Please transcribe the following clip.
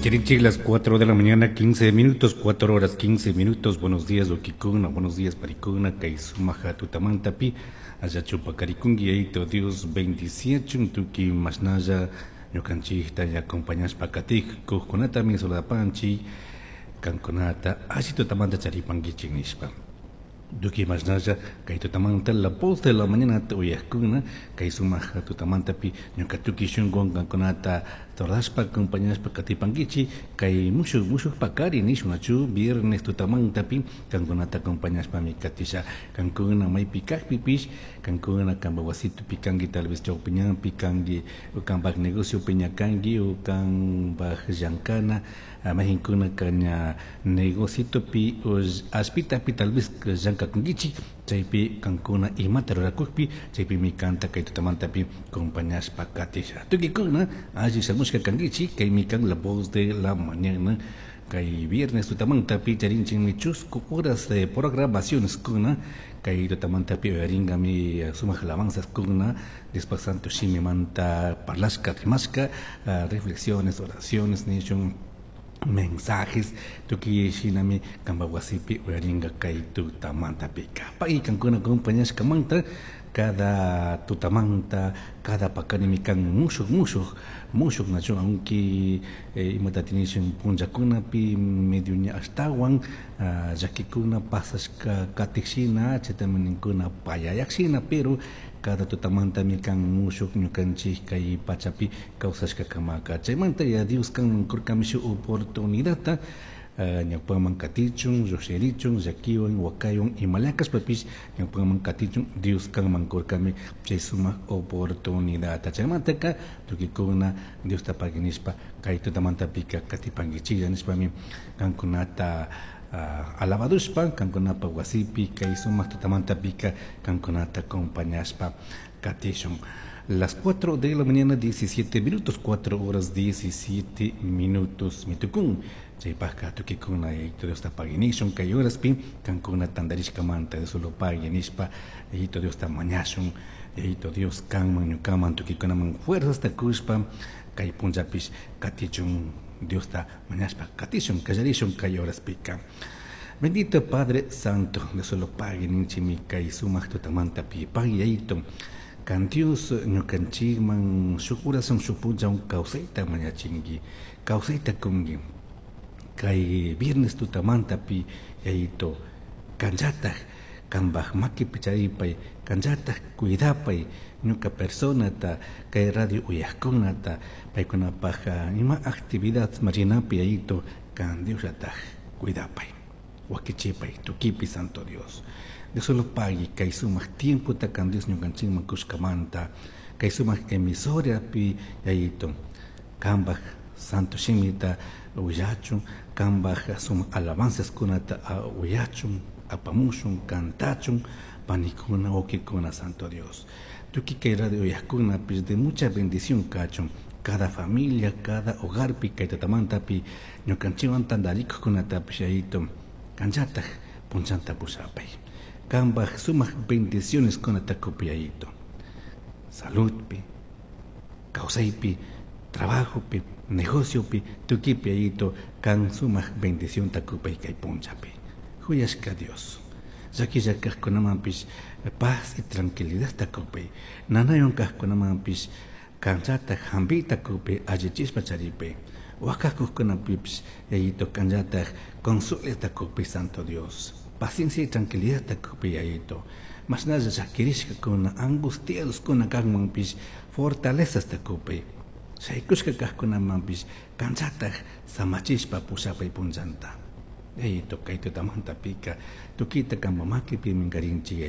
Charinchik las 4 de la mañana, 15 minutos, 4 horas 15 minutos. Buenos días, wawkikuna, buenos días, panikuna, kay sumaja tutamantapi, allachu paqarikunki, Yayito Dios bendiciachun, tuki mashnalla, ñukanchikta acompañashpa katikukkunatami saludapanchik, kankunata alli tutamanta charipankichik nishpa. Tuki mashnalla kay tutamanta La Voz de la Mañana uyajkuna, kay sumaja tutamantapi ñuka tuki shunkuwan kankunata saludashpa acompañashpa katipankichik, kay mushuk mushuk pakari nishun nachu viernes tutamantapi kankunata acompañashpami katisha. Kankuna maypi kajpipish, kankuna kanpak wasitupi kanki, tal vez chawpi ñanpi kanki, o kanpak negociopi ña kanki, o kanpak llankana, mayjinkuna ña negocitopi o ashpitapi tal vez llankakunkichik, chaypi kankuna imata rurakukpi, chaypimi kanta kay tutamantapi acompañashpa katisha. Tukikuna alli shamushka kankichik, kaymi kan La Voz de la Mañana, kay viernes tutamantapi charinchikmi chusku horas de programaciones kuna, kay tutamantapi uyaringami sumak alabanzas kuna, Diospak santo shimimanta parlashka rimashka, reflexiones, oraciones nishun, mensajes, tukuy shinami kanpak wasipi uyaringa kay tutamantapika. Pay kankuna acompañashkamanta cada tutamanta, cada pakarimi kan mushuk mushuk mushuk nachu, aunque imata tinishun punllakunapi medio ña ashtawan llakikuna pasashka katikshina, chaytami ninkuna payayakshina, pero cada tutamantami kan mushuk ñukanchik kay pachapi kawsashka kamaka. Chaymanta ya Dios kanman kurkami shuk oportunidadta, ñawpaman katichun, llushirichun, llakiwan, wakaywan, imala kashpapish ñawpaman katichun, Dios kanman kurkami chay sumak oportunidadta. Chaymantaka tukikuna Diosta pagui nishpa kay tutamantapika katipankichiklla nishpami kankunata alabadushpa kankunapa wasipi kay sumak tutamantapika kankunata acompañashpa katishun. Las 4 de la mañana, 17 minutos, 4 horas 17 minutos. Mitukun, chaypajka tukikuna Yayito Diosta pagui nishun, kay horaspi kankuna tandarishkamanta de solo pagui nishpa Yayito Diosta mañashun, Yayito Dios kanman ñukaman tukikunaman fuerzasta kushpa kay punllapish katichun Diosta mañashpa katishun kallarishun kay horaspika. Bendito Padre Santo, de solo pagui ninchimi kay sumak tutamantapi pagui Yayito. Kan Dios ñukanchikman shuk urasun shuk punllawan kawsayta mañachinki, kawsayta kunki. Kay viernes tutamantapi Yayito kanllataj kanpak makipi charipay, kanllataj cuidapay ñuka personata, kay radio uyajkunata, paykunapaj ima actividad marinapi Yayito kan Diosllataj cuidapay, wakichipay, tukipi Santo Dios. De solo pagui kay sumak tiempota kan Dios ñukanchikman kushkamanta, kay sumak emisorapi Yayito kanpak santo shimita willachun, kanpak sumak alabanzas kunata uyachun, apamushun, kantachun, panikuna, wawkikuna, Santo Dios. Tukuy kay radio uyajkunapish de mucha bendición kachun, cada familia, cada hogarpi kay tutamantapi ñukanchikwan tantarikuqkunatapish Yayito kanllataj punchanta pushapay. Kanpak sumak bendiciones kunata kupi Yayito. Saludpi, kawsaypi, trabajopi, negociopi, tukipi Yayito, kan sumak bendición takupay kay punchapi. Huyashka Dios. Llakilla kajkunamanpish paz y tranquilidad takupay. Nanayon kajkunamanpish kanllataj hampita kupay allichishpa charipay. Wakakuqkunapipish Yayito kanllataj consuelo takupay Santo Dios. Paciencia y tranquilidad takupay Yayito. Mashnalla llakirishkakuna, angustiadoskuna kanmanpish fortalezas takupay. Shaykushka kajkunamanpish kanllataj samachishpa pushapay punllanta. Yayito kay tutamantapika tukita kanpa makipi minkarinchik.